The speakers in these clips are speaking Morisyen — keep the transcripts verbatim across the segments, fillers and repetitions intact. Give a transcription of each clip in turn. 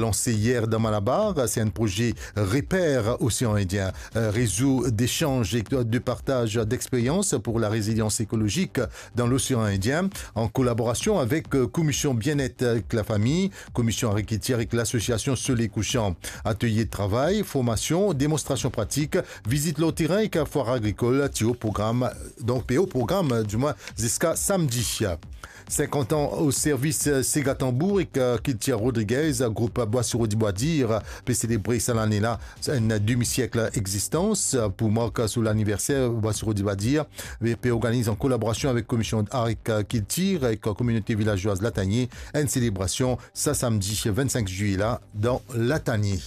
lanse yer dan Malabar, se enn proze Reper Osean Indien, euh, rezo desanz e de partaz dexperyans pou la rezilians ekolozik dan Losean Indien, an kolaborasion avek, euh, Komisyon Bienet ek Lafami, Komisyon Agrikiltir ek Lasosiasion Soley Kousan. Atelye travay, formasion, demonstrasion pratik, vizit lor terin ek fwar agrikol, ti o program, donk pe o program, dimwin, ziska samdi. Sinkant an o servis, euh, sega tanbour ek, euh, kiltir Rodriguez, group Bwa Siro di Bwa Dir, pe selebre sa lane la enn demi-sierk egzistans. Pou mark so laniverser, Bwa Siro di Bwa Dir pe, pe organiz an kolaborasion avek Komisyon Agrikiltir ek Kominote Vilazwaz Latanie enn selebrasion sa samdi vennsink zilye la dan Latanie.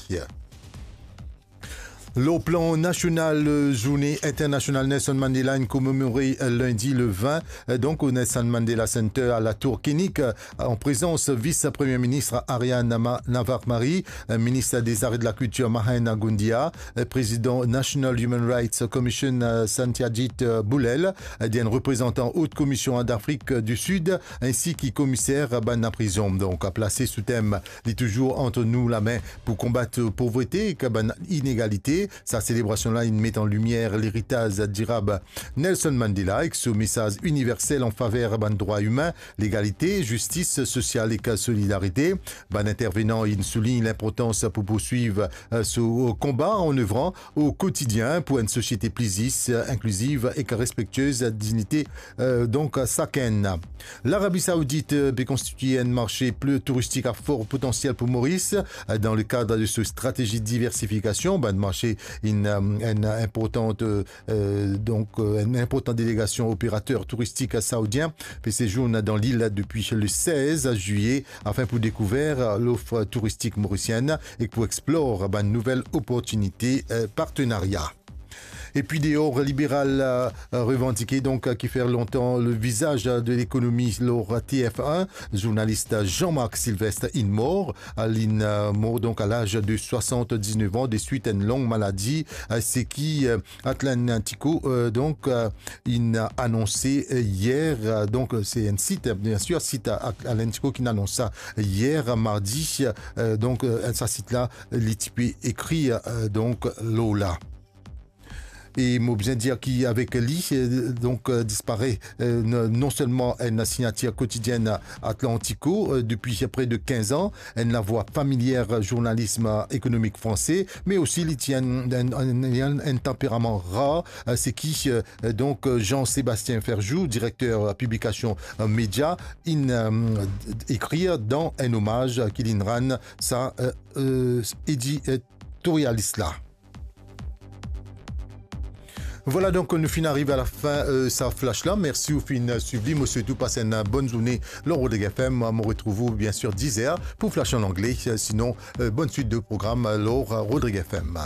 Lor plan nasional, euh, Zourne Internasional Nelson Mandela inn komemore, euh, lindi le vin, euh, donk o Nelson Mandela Center a Latour Kinnick, euh, an prezans vis-premie minis Aryan Nama-, Navarmari, euh, minis dezare de lakiltir Mahana Goundiya, euh, prezidan National Human Rights Commission, euh, Satyajit, euh, Bulel, euh, enn reprezantan Ot Komisyon Dafrik di Sid, ensi ki komiser bann prizon. Donk, plase sou tem Li touzour ant nou lame pou konbat povrete ek bann inegalite. Sa selebrasion la inn met an limier leritaz dirab Nelson Mandela ek so mesaz iniversel an faver bann drwa imin, legalite, zistis sosial ek solidarite. Bann intervenan inn soulign linportans pou pourswiv, euh, so konba an evran o kotidien pou enn sosiete pli zis, inkliziv ek respektiez dignite, euh, donk, sakenn. Larabi Saoudit, euh, pe konstitie enn marse pli touristik a for potansiel pou Moris, euh, dan le kad de so stratezi diversifikasion. Bann marse inn, euh, enn inportan, euh, euh, donk, euh, enn inportan delegasion operater touristik saoudien pe sezourn dan lil depi le sez zilye afin pou dekouver lof touristik morisienn ek pou explor bann nouvel oportinite, euh, partenaria. Epi de Or Liberal, euh, revandike, donk, euh, ki fer lontan le vizaz de lekonomi lor T F un, zournalis Jean-Marc Sylvestre inn mor, euh, linn, euh, mor donk a laz de swasann-diznef an deswit enn long maladi, euh, seki, euh, Atlantico, euh, donk, euh, inn anonse, euh, yer, euh, donk, euh, se enn sit, euh, biensir, sit a, a, Atlantico ki inn anons sa yer mardi, euh, donk, euh, sa sit la, li ti pe ekrir, euh, donk, lor la. E mo bizin dir ki avek li, euh, donk, euh, dispare, euh, n-, non selman enn signatir kotidienn Atlantico, euh, depi pre de kinz an, enn lavwa familier zournalism ekonomik franse, me osi li ti enn, enn, enn, enn, enn tanperaman rar, euh, seki, euh, donk, euh, Jean-Sébastien Ferjou, direkter, euh, piblikasion, euh, Media, inn, euh, ekrir dan enn omaz ki linn rann sa, euh, euh, editorialis la. Vwala, donk, nou finn ariv a lafin, euh, sa flash la. Mersi ou finn swiv li. Mo swet ou pas enn bonn zourne lor Rodrig F M. Mo retrouv ou, biensir, diz er pou flash an angle. Sinon, euh, bonn swit de program lor Rodrig F M.